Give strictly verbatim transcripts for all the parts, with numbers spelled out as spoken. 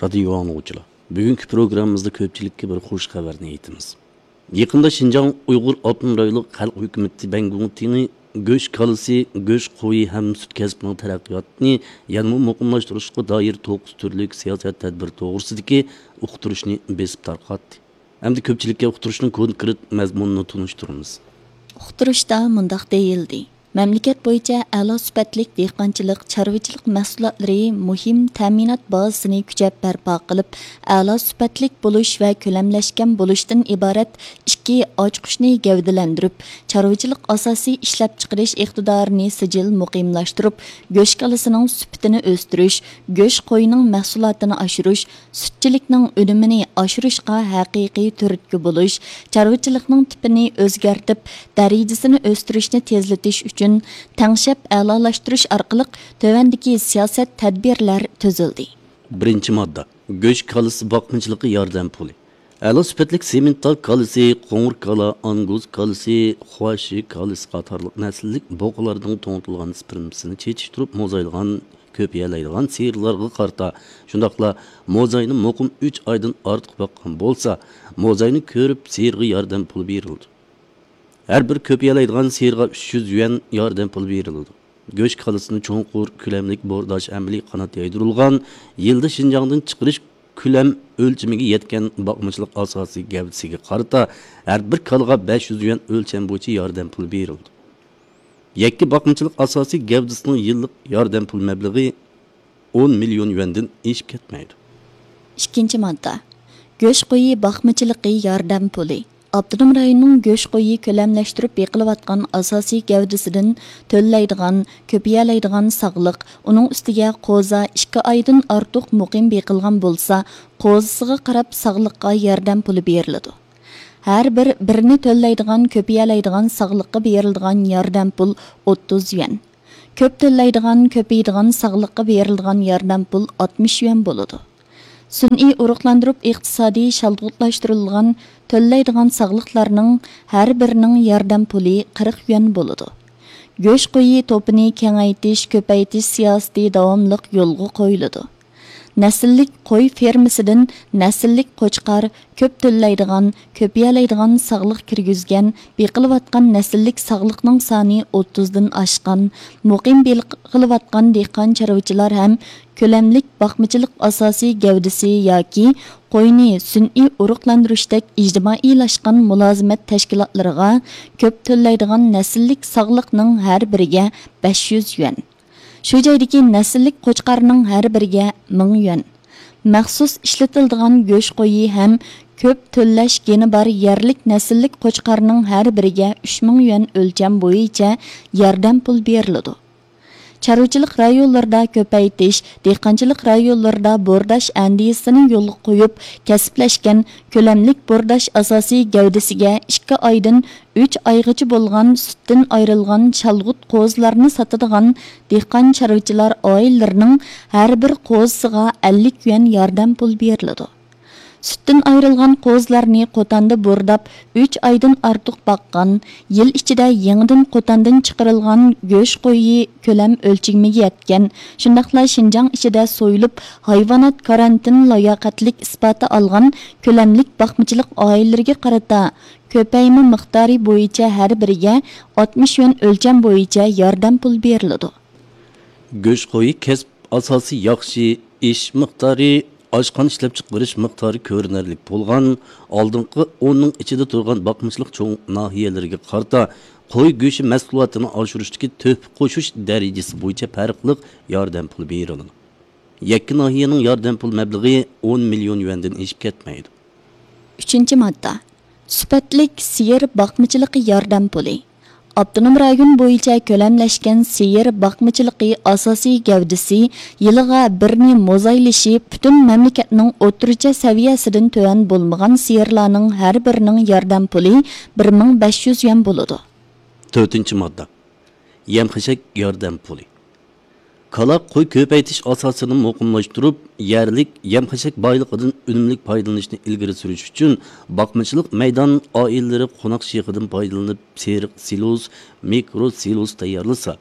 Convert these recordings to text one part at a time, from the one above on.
رادىيو ئاڭلىغۇچىلار، بۈگۈنكى پروگراممىمىزدا كۆپچىلىككە بىر خۇش خەۋەرنى ئېيتىمىز. يېقىندا شىنجاڭ ئۇيغۇر ئاپتونوم رايونلۇق خەلق ھۆكۈمىتى بەنگۇڭتىنى گۆش كالىسى، گۆش قويى ھەم سۈت كەسپىنىڭ تەرەققىياتىنى يەنىمۇ مۇقىملاشتۇرۇشقا دائىر توققۇز تۈرلۈك سىياسەت تەدبىر توغرىسىدىكى ئۇقتۇرۇشنى بېسىپ تارقاتتى. ئەمدى كۆپچىلىككە ئۇقتۇرۇشنىڭ كونكرېت مەزمۇنىنى تونۇشتۇرىمىز. ئۇقتۇرۇشتا مۇنداق دېيىلدى: مەملىكەت بويىچە ئەلا سۈپەتلىك دېھقانچىلىق، چارۋىچىلىق مەھسۇلاتلىرى مۇھىم تەمىنات بازىسىنى كۈچەپ بەرپا قىلىپ، ئەلا سۈپەتلىك بولۇش ۋە كۆلەملەشكەن بولۇشتىن ئىبارەت ئىككى ئاچقۇچنى گەۋدىلەندۈرۈپ، چارۋىچىلىق ئاساسىي ئىشلەپچىقىرىش ئىقتىدارىنى سىجىل مۇقىملاشتۇرۇپ، گۆش كالىسىنىڭ سۈپىتىنى ئۆستۈرۈش، گۆش قويىنىڭ مەھسۇلاتىنى ئاشۇرۇش، سۈتچىلىكنىڭ ئۈنۈمىنى ئاشۇرۇشقا ھەقىقىي تۈرتكە بولۇش، چارۋىچىلىقنىڭ تىپىنى ئۆزگەرتىپ، دەرىجىسىنى ئۆستۈرۈشنى تېزلىتىش ئۈچۈن تەڭشەپ ئەلالاشتۇرۇش ئارقىلىق تۆۋەندىكى سىياسەت تەدبىرلەر تۈزۈلدى. بىرىنچى ماددا، گۆش كالىسى باقمىچىلىقى ياردەم پۇلى. ئەلا سۈپەتلىك سىمېنتال كالىسى، قوڭۇر كالا، ئانگۇز كالىسى، خۇاشى كالىسى قاتارلىق نەسىللىك بۇقىلاردىن توڭتۇلغان سپېرمىسىنى چېچىشتۇرۇپ موزايلىغان، كۆپىيەلەيدىغان سىيىرلارغا قارىتا، شۇنداقلا موزاينى مۇقىم ئۈچ ئايدىن ئارتۇق باققان بولسا، موزاينى كۆرۈپ سىيىرغا ياردەم پۇلى بېرىلىدۇ. ھەر بىر كۆپىيەلەيدىغان سىيىرغا ئۈچ يۈز يۈەن ياردەم پۇلى بېرىلىدۇ. گۆش كالىسىنى چوڭقۇر كۆلەملىك بورداش ئەمەلىي قانات يايدۇرۇلغان، يىلدا شىنجاڭدىن چىقىرىش كۆلەم ئۆلچىمىگە يەتكەن باقمىچىلىق ئاساسىي گەۋدىسىگە قارىتا ھەر بىر كالىغا بەش يۈز يۈەن ئۆلچەم بويىچە ياردەم پۇلى بېرىلىدۇ. يەككە باقمىچىلىق ئاساسىي گەۋدىسىنىڭ يىللىق ياردەم پۇل مەبلىغى ئون مىليون يۈەندىن ئېشىپ كەتمەيدۇ. ئىككىنچى ماددا، گۆش قويى باقمىچىلىقى ياردەم پۇلى. ئاپتونوم رايوننىڭ گۆش قويى كۆلەملەشتۈرۈپ بېقىلىۋاتقان ئاساسىي گەۋدىسىدىن تۆلەيدىغان، كۆپىيەلەيدىغان ساغلىق، ئۇنىڭ ئۈستىگە قوزا ئىككى ئايدىن ئارتۇق مۇقىم بېقىلغان بولسا، قوزىسىغا قاراپ ساغلىققا ياردەم پۇلى بېرىلىدۇ. ھەر بىر بىرنى تۆلەيدىغان، كۆپىيەلەيدىغان ساغلىققا بېرىلىدىغان ياردەم پۇل ئوتتۇز يۈەن. كۆپ تۆلەيدىغان، كۆپىيىدىغان ساغلىققا بېرىلىدىغان ياردەم پۇل ئاتمىش يۈەن بولىدۇ. سۈنئىي ئۇرۇقلاندۇرۇپ ئىقتىسادىي شالغۇتلاشتۇرۇلغان تۆلەيدىغان ساغلىقلارنىڭ ھەر بىرىنىڭ ياردەم پۇلى قىرىق يۈەن بولىدۇ. گۆش قويى توپىنى كېڭەيتىش، كۆپەيتىش سىياسىتى داۋاملىق يولغا قويۇلىدۇ. نەسىللىك قوي فېرمىسىدىن نەسىللىك قوچقار، كۆپ تۆلەيدىغان، كۆپىيەلەيدىغان ساغلىق كىرگۈزگەن، بېقىلىۋاتقان نەسىللىك ساغلىقنىڭ سانى ئوتتۇزدىن ئاشقان، مۇقىم بېقىلىۋاتقان دېھقان چارۋىچىلار ھەم كۆلەملىك باقمىچىلىق ئاساسىي گەۋدىسى ياكى قوينى سۈنئىي ئۇرۇقلاندۇرۇشتەك ئىجتىمائىيلاشقان مۇلازىمەت تەشكىلاتلىرىغا كۆپ تۆلەيدىغان نەسىللىك ساغلىقنىڭ ھەر بىرىگە بەش يۈز يۈەن. شۇ جايدىكى نەسىللىك قوچقارنىڭ ھەر بىرىگە مىڭ يۈەن. مەخسۇس ئىشلىتىلىدىغان گۆش قويى ھەم كۆپ تۆلەش گېنى بار يەرلىك نەسىللىك قوچقارنىڭ ھەر بىرىگە ئۈچ مىڭ يۈەن ئۆلچەم بويىچە ياردەم پۇل بېرىلىدۇ. چارۋىچىلىق رايونلىرىدا كۆپەيتىش، دېھقانچىلىق رايونلىرىدا بورداش ئەندىزىسىنى يولغا قويۇپ، كەسىپلەشكەن كۆلەملىك بورداش ئاساسىي گەۋدىسىگە ئىككى ئايدىن ئۈچ ئايغىچە بولغان سۈتتىن ئايرىلغان شالغۇت قوزىلارنى ساتىدىغان دېھقان چارۋىچىلار ئائىلىلىرىنىڭ ھەر بىر قوزىسىغا ئەللىك يۈەن ياردەم پۇل بېرىلىدۇ. سۈتتىن ئايرىلغان قوزىلارنى قوتاندا بورداپ، ئۈچ ئايدىن ئارتۇق باققان، يىل ئىچىدە يېڭىدىن قوتاندىن چىقىرىلغان گۆش قويى كۆلەم ئۆلچىمىگە يەتكەن، شۇنداقلا شىنجاڭ ئىچىدە سويۇلۇپ، ھايۋانات كارانتىن لاياقەتلىك ئىسپاتى ئالغان كۆلەملىك باقمىچىلىق ئائىلىلىرىگە قارىتا كۆپەيمە مىقدارى بويىچە ھەر بىرىگە ئاتمىش يۈەن ئۆلچەم بويىچە ياردەم پۇل بېرىلىدۇ. گۆش قويى كەسىپ ئاساسىي ياخشى، ئېشىش مىقدارى ئاشقان، ئىشلەپچىقىرىش مىقدارى كۆرۈنەرلىك بولغان، ئالدىنقى ئوننىڭ ئىچىدە تۇرغان باقمىچىلىق چوڭ ناھىيەلىرىگە قارىتا قوي گۆشى مەھسۇلاتىنى ئاشۇرۇشتىكى تۆھپە قوشۇش دەرىجىسى بويىچە پەرقلىق ياردەم پۇلى بېرىلىدۇ. يەككە ناھىيەنىڭ ياردەم پۇل مەبلىغى ئون مىليون يۈەندىن ئېشىپ كەتمەيدۇ. ئۈچىنچى ماددا. سۈپەتلىك سىيىر باقمىچىلىقى ياردەم پۇلى. ئاپتونوم رايون بويىچە كۆلەملەشكەن سىيىر باقمىچىلىقى ئاساسىي گەۋدىسى يىلىغا بىرنى موزايلىشى پۈتۈن مەملىكەتنىڭ ئوتتۇرىچە سەۋىيەسىدىن تۆۋەن بولمىغان سىيىرلارنىڭ ھەر بىرىنىڭ ياردەم پۇلى بىر مىڭ بەش يۈز يۈەن بولىدۇ. تۆتىنچى ماددا. يەم-خەشەك ياردەم پۇلى. كالا، قوي كۆپەيتىش ئاساسىنى مۇقىملاشتۇرۇپ، يەرلىك يەم-خەشەك بايلىقىدىن ئۈنۈملۈك پايدىلىنىشنى ئىلگىرى سۈرۈش ئۈچۈن، باقمىچىلىق مەيدان ئائىلىلىرى قوناق شېخىدىن پايدىلىنىپ، سېرىق سىلوس، مىكرو سىلوس تەييارلىسا،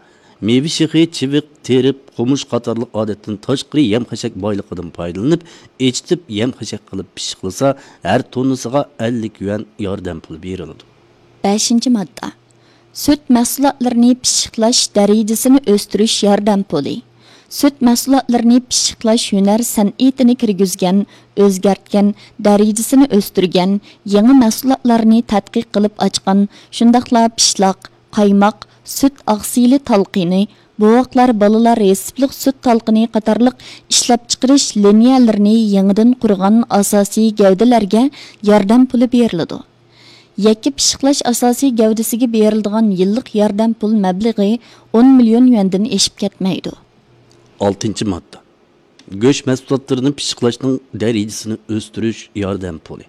مېۋە شېخى، چىۋىق، تېرىپ، قومۇش قاتارلىق ئادەتتىن تاشقىرى يەم-خەشەك بايلىقىدىن پايدىلىنىپ، ئېچىتىپ يەم-خەشەك قىلىپ پىششىقلىسا، ھەر توننىسىغا ئەللىك يۈەن ياردەم پۇلى بېرىلىدۇ. بەشىنچى ماددا. سۈت مەھسۇلاتلىرىنى پىششىقلاش دەرىجىسىنى ئۆستۈرۈش ياردەم پۇلى. سۈت مەھسۇلاتلىرىنى پىششىقلاش ھۈنەر سەنئىتىنى كىرگۈزگەن، ئۆزگەرتكەن، دەرىجىسىنى ئۆستۈرگەن، يېڭى مەھسۇلاتلارنى تەتقىق قىلىپ ئاچقان، شۇنداقلا پىشلاق، قايماق، سۈت ئاقسىلى تالقىنى، بوۋاقلار، بالىلار رېتسېپلىق سۈت تالقىنى قاتارلىق ئىشلەپچىقىرىش لىنىيەلىرىنى يېڭىدىن قۇرغان ئاساسىي گەۋدىلەرگە ياردەم پۇلى بېرىلىدۇ. يەككە پىششىقلاش ئاساسىي گەۋدىسىگە بېرىلىدىغان يىللىق ياردەم پۇل مەبلىغى ئون مىليون يۈەندىن ئېشىپ كەتمەيدۇ. ئالتىنچى ماددا. گۆش مەھسۇلاتلىرىنى پىششىقلاشنىڭ دەرىجىسىنى ئۆستۈرۈش ياردەم پۇلى.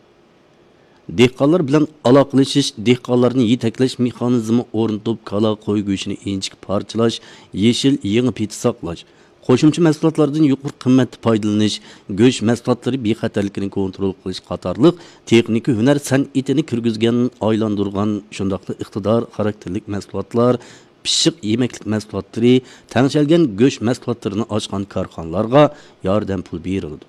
دېھقانلار بىلەن ئالاقىلىشىش، دېھقانلارنى يېتەكلەش مېخانىزمى ئورنىتىپ، كالا، قوي گۆشىنى ئىنچىكە پارچىلاش، يېشىل يېڭى پېتى ساقلاش، قوشۇمچە مەھسۇلاتلاردىن يۇقىرى قىممەتتە پايدىلىنىش، گۆش مەھسۇلاتلىرى بىخەتەرلىكىنى كونترول قىلىش قاتارلىق تېخنىكا ھۈنەر سەنئىتىنى كىرگۈزگەن، ئايلاندۇرغان، شۇنداقلا ئىقتىدار خاراكتېرلىك مەھسۇلاتلار، پىششىق يېمەكلىك مەھسۇلاتلىرى، تەڭشەلگەن گۆش مەھسۇلاتلىرىنى ئاچقان كارخانىلارغا ياردەم پۇلى بېرىلىدۇ.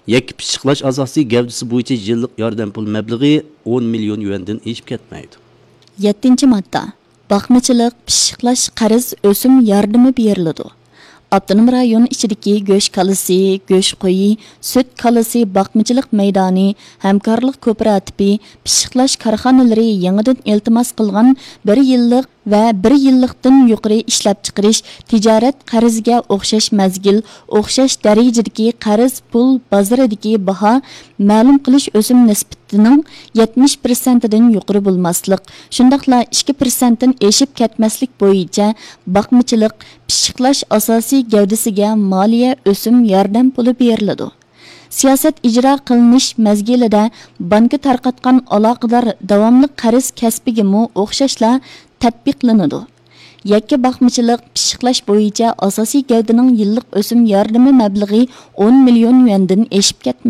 يەككە پىششىقلاش ئاساسىي گەۋدىسى بويىچە يىللىق ياردەم پۇل مەبلىغى ئون مىليون يۈەندىن ئېشىپ كەتمەيدۇ. يەتتىنچى ماددا. باقمىچىلىق، پىششىقلاش، قەرز، ئۆسۈم ياردىمى بېرىلىدۇ. ئاپتونوم رايون ئىچىدىكى گۆش كالىسى، گۆش قويى، سۈت كالىسى باقمىچىلىق مەيدانى، ھەمكارلىق كوپىراتىپى، پىششىقلاش كارخانىلىرى يېڭىدىن ئىلتىماس قىلغان بىر يىللىق ۋە بىر يىللىقتىن يۇقىرى ئىشلەپچىقىرىش، تىجارەت قەرزىگە ئوخشاش مەزگىل، ئوخشاش دەرىجىدىكى قەرز پۇل بازىرىدىكى باھا مەلۇم قىلىش ئۆسۈم نىسبىتىنىڭ يەتمىش پىرسەنتىدىن يۇقىرى بولماسلىق، شۇنداقلا ئىككى پىرسەنتتىن ئېشىپ كەتمەسلىك بويىچە باقمىچىلىق، پىششىقلاش ئاساسىي گەۋدىسىگە مالىيە ئۆسۈم ياردەم پۇلى بېرىلىدۇ. سىياسەت ئىجرا قىلىنىش مەزگىلىدە بانكا تارقاتقان ئالاقىدار داۋاملىق قەرز كەسپىگىمۇ ئوخشاشلا تەتبىقلىنىدۇ. يەككە باقمىچىلىق، پىششىقلاش بويىچە ئاساسىي گەۋدىنىڭ يىللىق ئۆسۈم ياردىمى مەبلىغى ئون مىليون يۈەندىن ئېشىپ كەتمەيدۇ.